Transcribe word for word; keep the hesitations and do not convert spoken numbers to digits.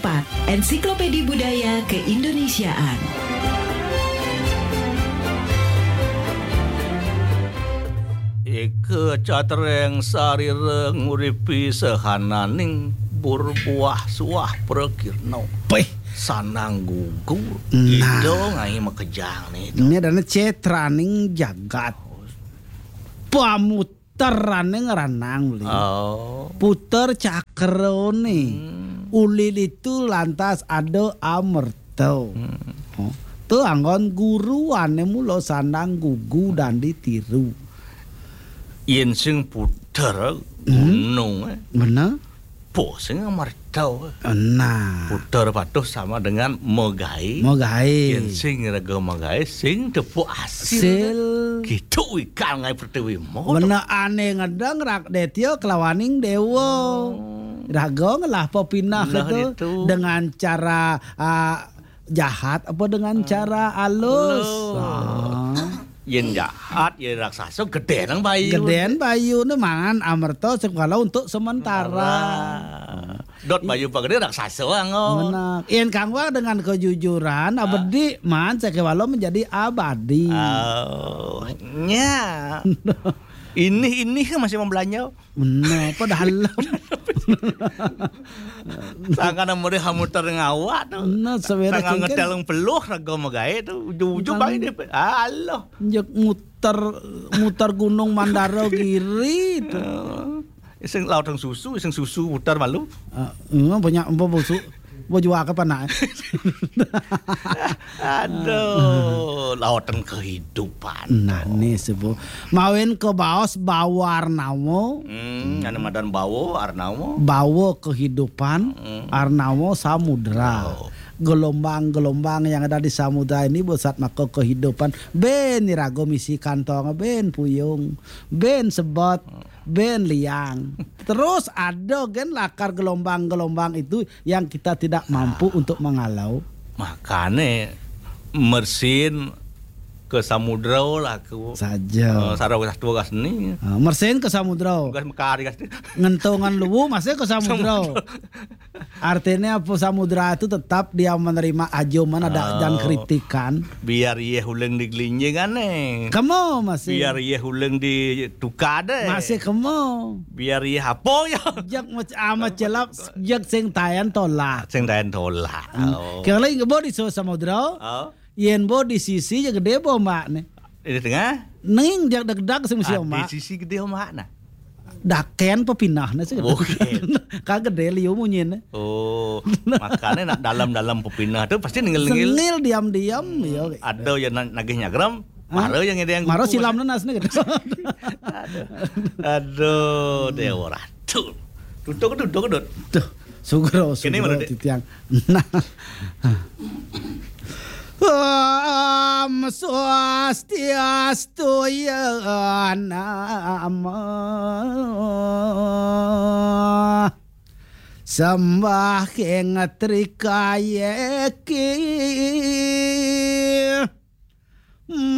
Pat, Ensiklopedi Budaya Keindonesiaan. Ika catreng sarira nguripi sahananing burbuah suah prakirna. Pih. Sanang gugu, nah. Ida ngai makejang ni. Ini adalah cetraning jagat. Pamut teraning ranang beli. Oh. Puter cakrone. Hmm. Uli ditu lantas ada amerta. Hmm. Oh. Tu anggon guru ane mula sandang gugu dan ditiru. Yen sing puter gunung, eh. Benar. Po sing amerta. Nah. Puter patuh sama dengan megai. Megai. Yen sing raga megai, sing tepuk asil. Sil. Gitu ikal ngai pertiwi mo. Bener ane ngedeng rak detio kelawaning dewa. Oh. Raga ngelah pepinah nah, itu itu dengan cara ah, jahat apa dengan cara alus? Alus. Ah. Yen jahat, yen raksasa, geden bayu. Geden bayu ne mangan amerta sekala untuk sementara. Sementara. Dot bayu pagede raksasa anggo. Benar. Yen kanggo dengan kejujuran, ah. Abedi man sekewalo menjadi abadi. Oh, nya. Ini, ini kan masih mau belanja. Benar, padahal. Sangkan murih hamuter ngawak tu. Nah, sebenarnya sangkan kan ngeteleng peluh raga magae tu. Ujung-ujung kan bae dia. Alah. Njek muter, muter gunung Mandara Giri tu. Oh. Iseng laut yang susu, iseng susu putar malu. Ah, emang banyak empo busu. Bo jua ke panak. Aduh, lautan kehidupan. Nah, ni sebu. Mawin ke baos bawa arnawa. Hmm, ane madan bawa arnawa. Bawa kehidupan, hmm. Arnawa samudra. Oh. Gelombang-gelombang yang ada di samudra ini besat maka kehidupan. Ben irago misi kantong, ben puyung, ben sebot, ben liang. Terus ada gen lakar gelombang-gelombang itu yang kita tidak mampu ah. Untuk mengalau. Makane mersin ke samudra lah aku. Saja. Uh, sarau gas tua gas ni. Uh, mersin ke samudra. Gas mekari gas. Ngentongan luwu masih ke samudra. Samudra. Artinya apa samudra itu tetap dia menerima ajo mana ada oh. Dan kritikan. Biar iye huleng di gelinjing ane. Kamu masih. Biar iye huleng di tukade. Masih kamu. Biar iye hapo ya. Jak mac ama celap jak sing tayan tolak. Sing tayan tolak. Hmm. Oh. Kira lagi bo di so samudra. Oh. Yen bo di sisi ya gede bo mbak ne. Di tengah. Ning jak degdag sing mesti ah, omak. Di sisi gede omak nah. Daken pepinah ne sih. Oke. Kagede liu munyin. Oh, makanya nak dalam-dalam pepinah tu pasti nengil-nengil. Sengil diam-diam hmm, ya. Ada yang nagih nyagram. Mara yang ada yang mara silam nas ne gitu. Aduh. Aduh, dewa ratu. Tutuk tutuk dot. Tuh, sugro sugro titiang. Nah. Om swastiastu ya nama. Sembah keng trikayeki.